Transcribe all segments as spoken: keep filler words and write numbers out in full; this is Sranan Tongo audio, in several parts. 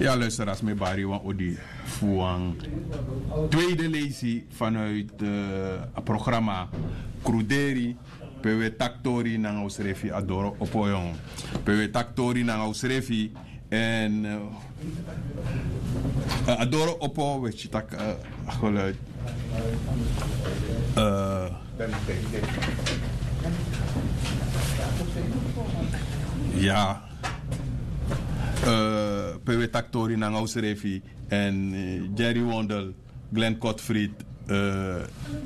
Ya luister, a sma e bari wan odi fu wan tweede leisi vanuit a programma Kruderi, pe wi e taki tori nanga usrefi a doro opo yon. Pe wi e taki tori nanga usrefi. En a doro opo wi e taki a geluid. Ya. Pe wi e taki tori nanga usrefi en Jerry Wondel, Glenn Kotfrid,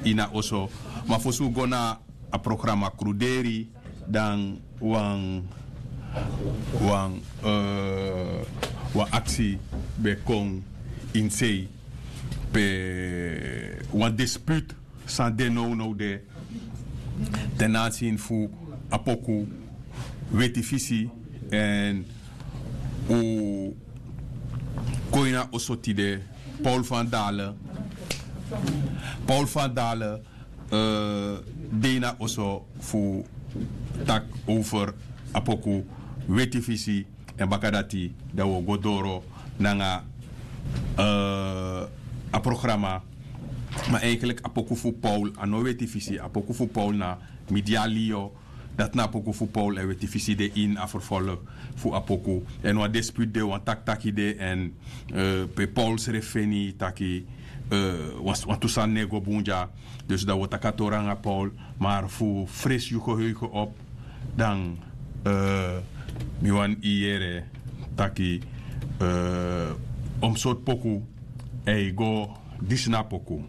ini a oso. Ma fosi un go na a programa Kruderi, dan wan wan aksi ben kon ini sei, pe wan dispute san de nownow de ten aanzien fu a poku Weti Fisi. En un kon ini a oso tide, Paul van Dalen. Paul van Dalen de ini a oso fu taki over a poku Weti Fisi. En baka dati dan wi o go doro nanga a programa. Ma eigenlijk a poku fu Paul a no Weti Fisi. A poku fu Paul na Midialio. Dati na a poku fu Paul, en Weti Fisi de ini a vervolg fu a poku. En wan dispute de, wan takitaki de, en pe Paul srefi feni taki wantu sani no e go bun dya. Dus dan wi o taki a tori nanga Paul. Maar fu fresi yu geheugen op, dan mi wani yere taki omsort poku e go, disi na a poku.